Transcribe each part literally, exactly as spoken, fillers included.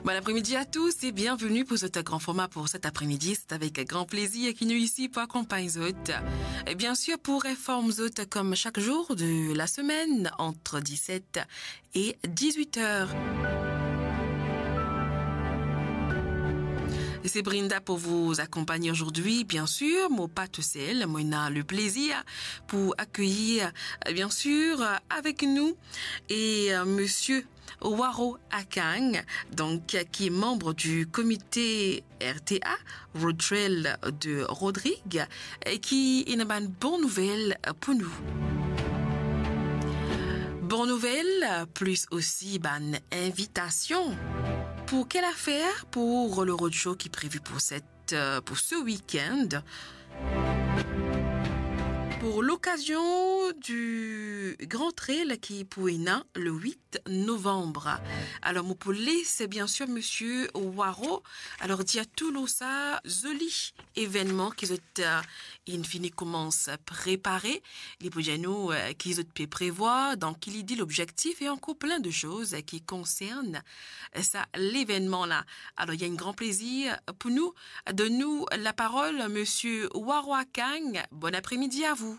Bon après-midi à tous et bienvenue pour ce grand format pour cet après-midi. C'est avec grand plaisir ki nou isi pou akonpagn zot. Et bien sûr, pour informer zot comme chaque jour de la semaine entre dix-sept et dix-huit heures. Et c'est Brinda pour vous accompagner aujourd'hui. Bien sûr, mo pa tousel, mo ena le plaisir pour accueillir, euh, bien sûr, euh, avec nous et, euh, monsieur Waro Akang, donc, euh, qui est membre du comité R T A, Road Trail de Rodrigues, et qui ena bann bon nouvel pou nou. Bon nouvel, plus aussi bann invitasion. Pour quelle affaire ? Pour le roadshow qui est prévu pour cette, euh, pour ce week-end. Pour l'occasion du Grand Trail ki pou ena le huit novembre. Alors, mo pou les, bien sûr, monsieur Waro. Alors, dir tou lor sa zoli evenman ki zot, euh, inn fini koumans prepare. Li pou dir nou, euh, ki zot pe prevwar, dan ki lide, lobzektif e ankor plin de soz ki konsern, euh, sa levenman la. Alors, il y a un grand plaisir pour nous. Donn nou la parole, monsieur Waro Akang. Bon après-midi à vous.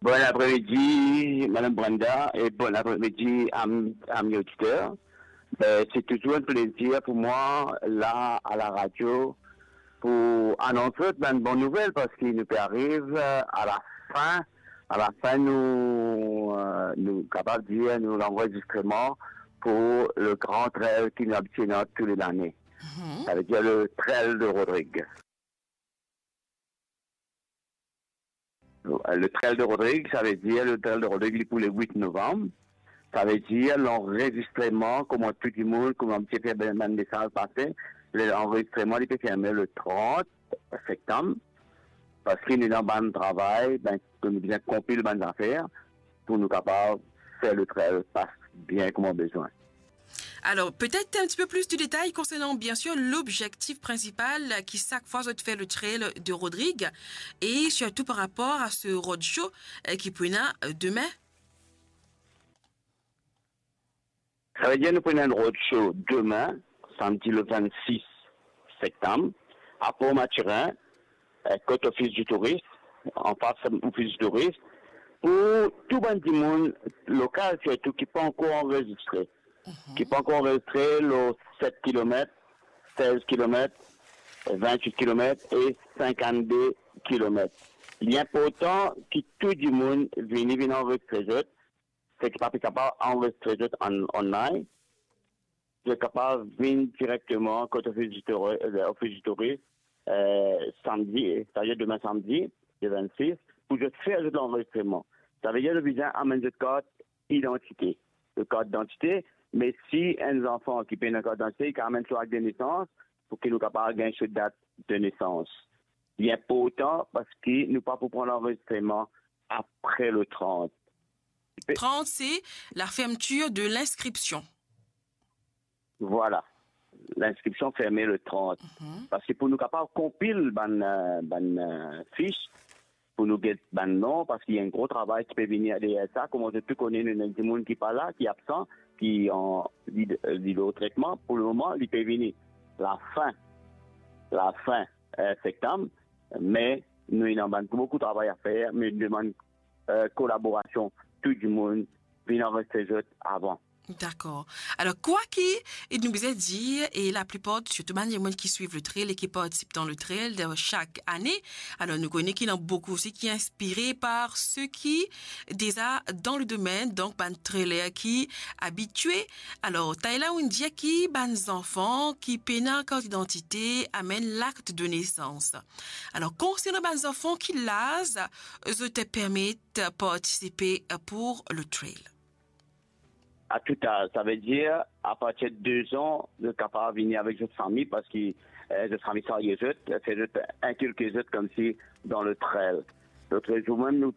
Bon après-midi, Madame Brenda, et bon après-midi à, à mes auditeurs. Ben, c'est toujours un plaisir pour moi, là, à la radio, pour annoncer une bonne nouvelle, parce qu'il nous arrive, euh, à la fin, à la fin, nous, euh, nous, capable de dire, nous, l'enregistrement pour le grand trail qui nous obtient toutes les années. Mhm. Ça veut dire le trail de Rodrigues. Le trail de Rodrigues, ça veut dire le trail de Rodrigues, li pou le huit novembre. Ça veut dire l'enregistrement, kouma tou dimoun, kouma ti pe fer bann mesaz pase, l'enregistrement, li pe ferme le trente septembre, parce que nou dan bann travay, ben, nou bizin konpil bann zafer pou nou kapav fer le trail pas bien kouma bizin. Alors, peut-être un petit peu plus de détails concernant, bien sûr, l'objectif principal, euh, ki sak fwa zot fer le trail de Rodrigues, et surtout par rapport à ce roadshow, euh, ki pou ena, euh, demin. Sa ve dir nou pou ena enn roadshow demin, samdi le vingt-six septembre, à Port-Mathurin, euh, kot Office du Tourisme, anfas Office du Tourisme, pou tou bann dimoun lokal sirtou ki pa ankor anrezistre, ki pa ankor anrezistre lor set kilomet, sez kilomet, vintwit kilomet e sinkannde kilomet. Li inportan ki tou dimoun vini, vinn anrezistre zot, seki pa pe kapav anrezistre zot an, online, zot kapav vinn direkteman kot Office du Touri-, euh, Office du Tourisme, euh, samdi, c'est-à-dire demin samdi, le vingt-six, pou zot fer zot lanrezistreman. Sa ve dir zot bizin amenn zot kart idantite. Zot kart idantite, me si enn zanfan ki pena kart idantite, li kav amenn so akt de nesans pou ki nou kapav gagn so dat de nesans. Li inportan parski nou pa pou pran lanrezistreman apre le trant. Trant, c'est la fermeture de l'inscription. Voilà. L'inscription ferme le trant. Mhm. Parski pou nou kapav konpil bann, euh, bann, euh, fis, pou nou get bann non, parski ena enn gro travay ki pe vini deryer sa. Kouma zot tou kone, nou ena dimoun ki pa la, ki absan, ki an, li, li lor tretman. Pou le moman, li pe vini lafin, lafin, euh, septam, me nou ena bann boukou travay a fer, me nou demann, euh, kolaborasion tou dimoun, vinn anrezistre zot avan. Dakor. Alor, kwa ki, e nou bizin dir, e laplipar, sirtou bann dimoun ki swiv le trail e ki partisip dan le trail, euh, sak ane, alor nou kone ki ena boukou osi ki inspire par seki deza dan le domenn, donk bann trailer ki abitie. Alor, Tayla, ou'nn dir ki bann zanfan ki pena kart idantite amenn lakt de nesans. Alor, konsernan bann zanfan, ki laz zot permet partisipe pou le trail? A tou az, sa ve dir, apartir de de zan, zot kapav vini avek zot fami, parski, eh, zot fami sarye zot, fer zot, inkilke zot koumsi dan le trail. Lot zour mem, nou,